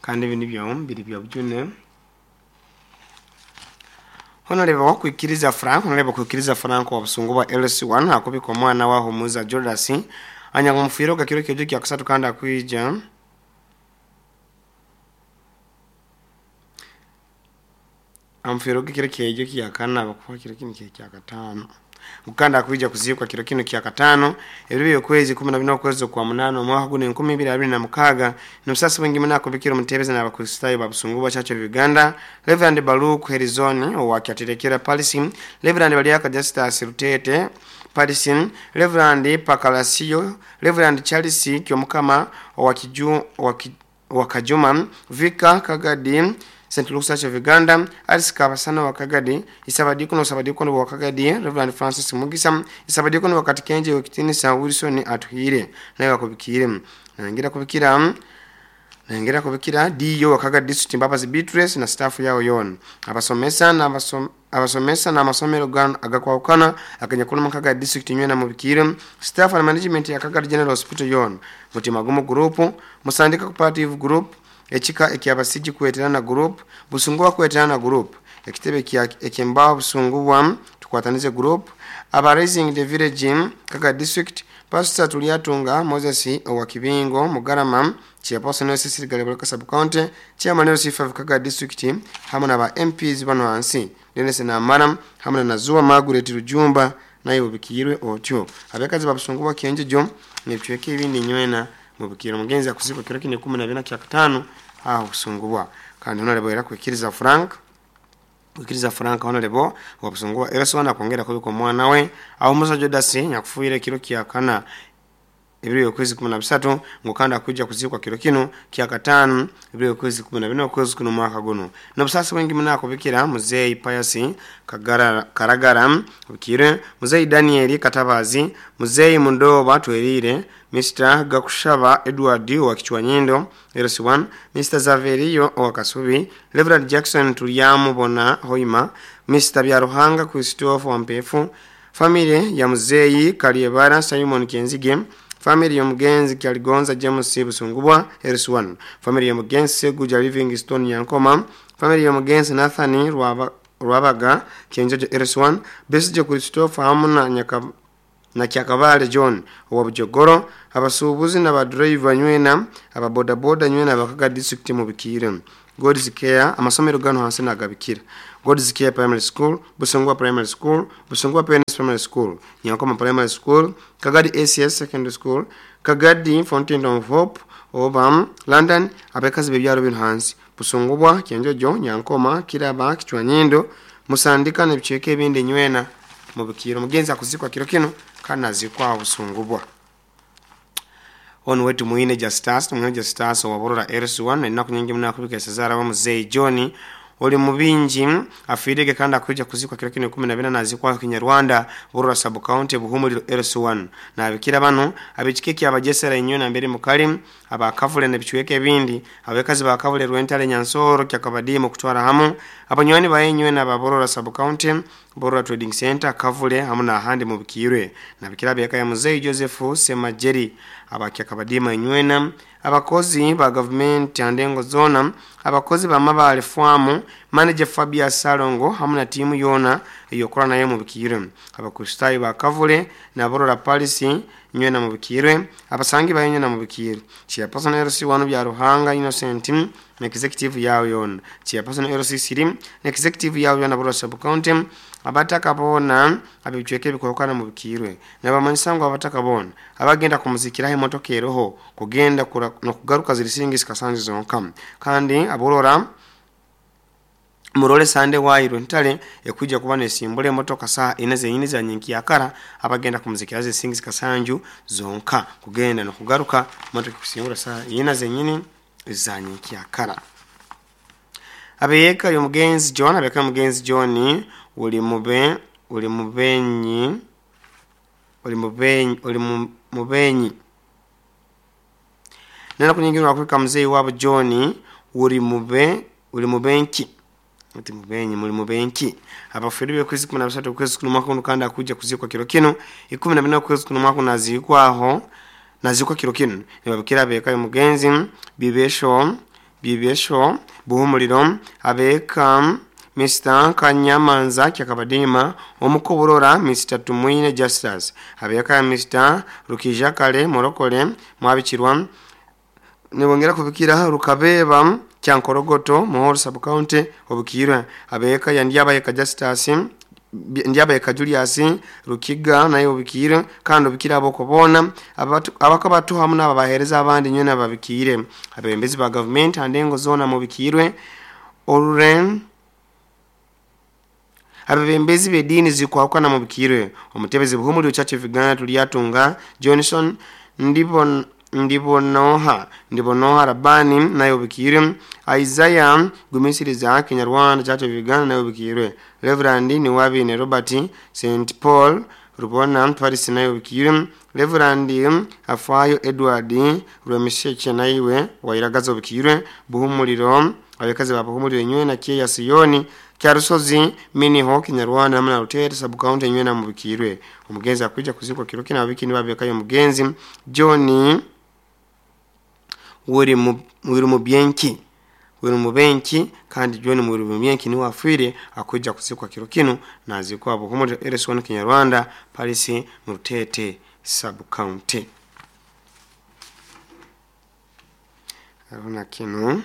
Kandi ebi nibyo biri byobujune. Honorable Kwikiriza Frank, Honorable Kwikiriza Frank wa Busungu bwa LC1 akubika omwana wa Humuza Judas anyakumufwiroga kiro kyejo kya kusatu kandi akwija amufwiroga kiro kyejo kya kana bakufa kiro kino kya katano mukanda akuija kuzikwa kiro kino kya katano ebiro by'okwezi 14 okwezi kwa munano omwaka guno 2026. N'obusasi bwingi muno akubikira omutebezi n'abakristaayo ba Busungu bwa Church of Uganda Reverend Baruch Herizoni owa Kyaterekera Parish, Reverend Baliaka Justus Rutete Parish, Reverend Pakalasio, Reverend Charles Kyomukama owa Kajuma, Vika Kagadi St. Luke's Church of Uganda, Alice Kabasana wa Kagadi, Isabadikono Sabadikono wa Kagadi, Reverend Francis Mugisa, Isabadikono wa Katikenje Wekitinisa Wilson Atuhire, naye wakubikire. Nangera kubikira DO wa Kagadi District Mbabazi Beatrice na staff yao yona. Abasomesa na abasomesa na amasomero agakwawukana akanyakulu mu Kagadi District nywena mubikire, staff na management ya Kagadi General Hospital yona. Mutima Gumu Group, Musandika Cooperative Group, ekika ekyabasiji kweterana group, Busungu kweterana group, ekitebe ekyembao Busungu bwa tukwatanize group, aba Raising the Village Kagadi District, Pastor Tuliatunga Moses owa Kibingo Mugarama, Chairperson wa Cecil Galeboleka Sub County, Chairman wa C5 Kagadi District, hamwe na ba MPs bano hansi Dennis Namara hamwe na Zuwa Margaret Rujumba naye ubikirwe otyo. Abakazi ba Busungu bwa Kyenjejo n'ebicweka ebindi nywena mubikiro mugenzi akuzikwa kiro kine 14 kya katano aho Busungubwa. Kandi honorable era kwikiriza Frank honorable wa Busungubwa era kwongera kubika omwana we aho Musa Judas nyakufuire kiro kya kana ebiro y'okwezi 13 ngukanda kuja kuzikwa kiro kino kya katano ebiro y'okwezi 14 okwezi kuno mwaka guno. N'obusasi bwingi muno akubikira Muzeyi Pius Karagara ubikire, Muzeyi Daniel Katabazi, Muzeyi Mundoba Twerire, Mr. Gakushaba Edward wa Kichwanyindo LC1, Mr. Zaverio wa Kasubi, Reverend Jackson Tulyamubona Hoima, Mr. Byaruhanga Christopher Wampefu, family ya Muzeyi Kaliebara Simon Kenzige, family ya Mugenzi Kyaligonza James Busungubwa LC1, family ya Mugenzi Seguja Livingstone Nyankoma, family ya Mugenzi Nathan Rwabaga Kyenjojo LC1, Besije Christopher hamuna na Kyakabale John wa Bujogoro, abasuubuzi n'abadriver nywena, ababodaboda nywena abakaga district mubikire. God's Care amasomero gano hansi nagabikira. God's Care Primary School, Busungwa Primary School, Busungwa Pioneers Primary School, Nyankoma Primary School, Kagadi ACS Secondary School, Kagadi Fountain of Hope, Obam, London, abakazi bebyaro bino hansi, Busungubwa, Kyenjojo, Nyankoma, Kiraba, Kichwanyindo, Musandika n'ebicweka ebindi nywena mubikiro. Mugenzi akuzikwa kiro kino kandi azikwa Busungubwa. Ono wetu Muine Justus, Muine Justus wa Borora LC1, ennaku nyingi muno akubika Sezara wa Muzeyi John oli mubingi afiirege kandi akuja kuzikwa kiro kino 14 nazikwa Kinyarwanda Borora Sub County Buhumuliro LC1. Nabikira bano abikike abajesera inyo mbere mukali abakavule n'ebicweka ebindi abakazi bakavule Rwentale Nyansoro Kyakabadimu kutwara hamu abanywani bayenywe na Borora Sub County Borora Trading Center Kavule hamu na ahandi mubikirwe. Nabikira beka ya Muzeyi Joseph Semajeri abakyakabadima inywena abakozi ba government andengo zona abakozi ba mabale fwamu manager Fabia Salongo hamu na timu yona eyokora naye mubikirwe, abakristayo ba Kavule na Borora Parish nywena mubikirwe, abasangi bayenywe na mubikirwe. Chairperson LC1 bya Ruhanga Innocent na executive yao yona, Chairperson LC3 na executive yao yona Borora Sub County, abataka bona abicweke bikorokana mubikirwe nabamanyisango abataka bona abagenda kumuzikira emotoka eroho kugenda no kugaruka zirisingi kasanji zonka. Kandi aborora murole sande wairwe ntale ekuja kuba nesimbule emotoka saa ine zenyini za nyinki yakara abagenda kumuzikira zisingi kasanju zonka kugenda no kugaruka motoka kusimbula saa ine zenyini za nyinki yakara. Abeyeka yomugenzi John, abeka mugenzi John uli mubenyi nena kunyingirwa akubika Muzeyi wabo John uli mubenki ati mubenyi muri mubenki abafiri be kwezi 13 kwezi kuno mwaka kandi akuja kuzikwa kiro kino 14 kwezi kuno mwaka nazikwaho nazikwa kiro kino nibabikira beka mugenzi bibesho Bibesho Buhumuliro, abeka Mr. Kanyamanza Kyakabadima Omukoborora, Mr. Tumwine Justus, abeka Mr. Rukijakale Morokole Mwabikirwa, nibongera kubikira Rukabeba Kyankorogoto Muhoro Sub County obukirwe, abeka Yandyabayeka Justus, Ndyabayeka Julius Rukiga naye obukire, kandi obukire abokubona abakabatu hamu n'ababahereza abandi nyene babikire, abebembezi ba gavumenti andengo zona mubikirwe oruren, abebembezi b'edini zikwahukana mubikirwe, omutebezi Buhumuliro Church of Uganda Tulyatunga Johnson Ndibonoha Rabani naye obikirwe, Isaiah Gumisiriza Kinyarwanda Church of Uganda naye obikirwe, Reverend Niwabine Robert St Paul Rubona Paris naye obikirwe, Reverend Afayo Edward Rwemisheke naiwe wairagaza obikirwe, Buhumuliro abakazi ba Buhumuliro enywe na Kyeya Siyoni Kyarusozi Miniho Kinyarwanda hamwe na Rutete Sub County enywe na mubikirwe. Omugenzi akwija kuzikwa kiro kina abiki nibabekayo omugenzi John Wiri Mubenki, kandi John Wiri Mubenki niwe afwire akwija kuzikwa kiro kino nazikwa Buhumuliro RS1 Kinyarwanda Paris mu Rutete Sub County. Hariho na kino.